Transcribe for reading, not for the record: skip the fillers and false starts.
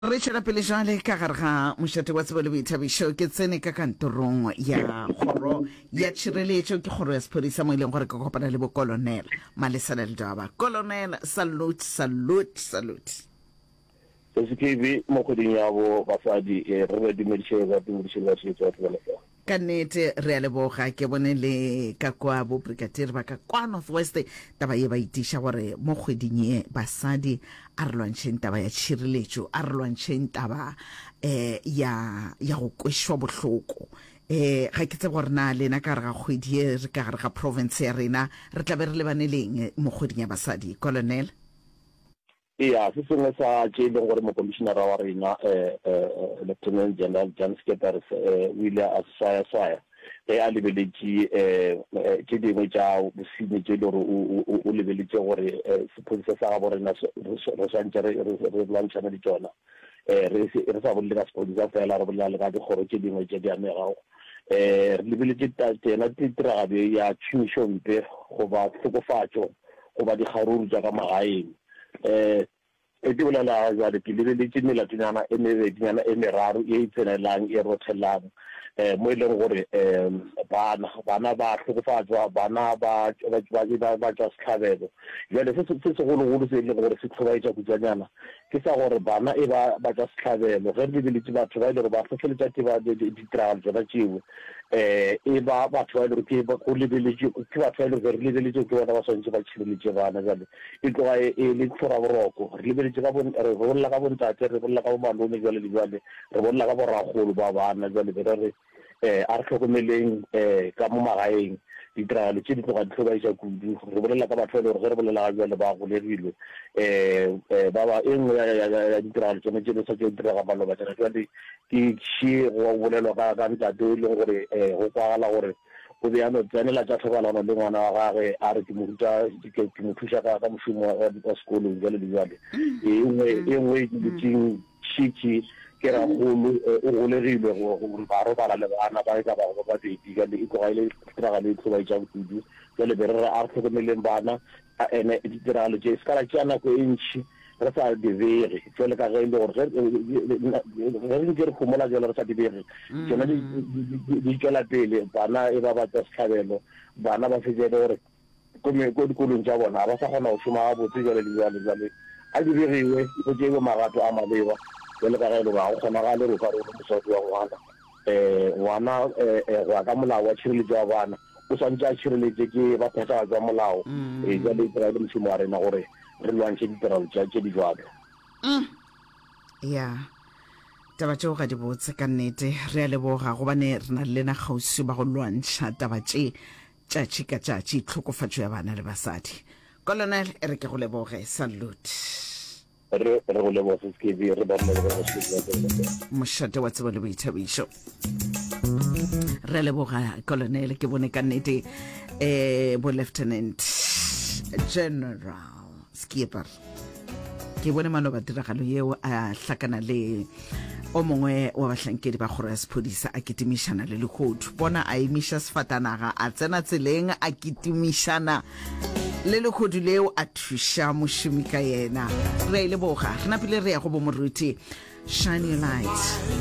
Re tšwela pele jwale ka gare ga mošate wa tsebo le boithabišo. Ke tsene ka kantorong ya kgoro ya tšhireletšo, ke kgoro ya sephodisa mo e leng gore ke kopana le bokolonel Malesela Ledwaba. Colonel, salute, salute, salute. SKB, mo kgweding ya bo basadi, re re dumediše ba dumediše le batheetši ba Thobela FM. Ka nnete re a leboga. Ke bone le ka kwa bo brigadier ba ka kwa North West taba ye ba itiša gore mo kgweding ye basadi a re lwantšheng taba ya tšhireletšo, a re lwantšheng taba eh ya ya go kwešwa bohloko. Eh ga ke tsebe gore na lena ka gare ga kgwedi ye re ka gare ga province ya rena re tla be re lebane leng mo kgweding ya basadi, Colonel? Eya, se sengwe sa tše e leng gore Mokomišenara wa rena, Lieutenant General Jan Scheepers, o ile a se swayaswaya ge a lebeletše tše dingwe tša bosenyi tše e le gore o lebeletše gore sephodisa sa gabo rena re swantše re lwantšhane le tšona. Re sa bolele ka sephodisa fela, re bolela le ka dikgoro tše dingwe tše di amegago. Re lebeletše yona tiragalo ye ya tšhomišompe goba tlhokofatšo goba dikgaruru tša ka magaeng. Um ge ke bolela jwale ke lebeletše melatonyana e mebedinyana e meraro ye e tsenelang e rothelang um mo e leng gore um bana bana ba hlokofatšwa, bana ba ba ba tšwa sehlabelo. Jwale se se segologolo se e leng gore se hlobaetša kutšwanyana ke sa gore bana e ba ba tšwa sehlabelo. Ge re lebeletše batho ba e le gore ba hlohleletša ditiragalo tšona tšeo, um e ba batho ba e le gore ke go lebeletše ke batho ba e le gore re lebeletše ke bona ba swanetše ba tšhireletše bana. Jwale e tloga e e le tlhoraboroko. Re lebeletše ka bo re bolela ka bontate, re bolela ka bomalome jwale le jwale, re bolela ka borakgolo ba bana. Jwale be re re um a re hlokomeleng um ka mo magaeng ditiragalo tše di tloga di hlobaetša kudu. Re bolela ka batho ba e le gore ge re bolela ga jwale ba golegilwe. Um ba ba e nngwe ya ya ya ditiragalo tsone tše di sa tšo direga maloba tšana jwale Ke še go bolelwa ka, ka ntate o e leng gore go kwagala gore o be a no tsenela tša thobalano le ngwana wa gagwe, a re ke mo ruta, ke, ke mo thuša ka, ka mošomo wa, wa sekolong, bjale le bjale. E nngwe, e nngwe e ke dutšeng šetše ke rakgolo, o golegilwe go, gore ba robala le bana ba e ka bago ba babedi, bjale e tloga e le tiragalo e hlobaetšang kudu. Bjale be re re a re hlokomeleng bana, a ene ditiragalo tše se ka ra tšea nako e ntši re sa di bege, jwale ka ge e le gore ge ge re ntše re homola jwale re sa di bege, tšona di di tšwela pele, bana e ba ba tšwa sehlabelo, bana ba fetša e le gore ko ko dikolong tša bona ga ba sa kgona go šoma gabotse jwale le jwale. Jwale a di begiwe, go tšeiwe magato a maleba, jwale ka ge e le gore ga go kgonagale gore o ka re o le mosadi wa ngwana, um ngwana um go ya ka molao wa tšhireletšo ya bana, o swanetše a tšhireletše ke ba phethagatšo ya molao. Ee, bjale e tloga e le mošomo wa rena gore re lwantšhe ditirelo tša tše di bjalo. Mm. Ya. Taba tšeo ga di botse ka nnete. Re a leboga gobane re na le lena kgauswi ba go lwantšha taba tše tšatši ka tšatši, tlhokofatšo ya bana le basadi. Colonel, e re ke go leboge. Salute. Re re go leboga Sis KB, re ba re leboge go Sis Tsebo. Mošate wa tsebo le boithabišo. Re leboga Colonel, ke bone ka nnete eh bo Lieutenant General Skipper. Ke bone maloba tiragalo yeo a hlakana le o mongwe wa bahlankedi ba kgoro ya sephodisa a kitimišana le lehodu. Bona a emiša sefatanaga a tsena tseleng a kitimišana Le lehodu leo a thuša mošomi ka yena. Re a e leboga. Re napile re ya go bo moruti. Shine your light.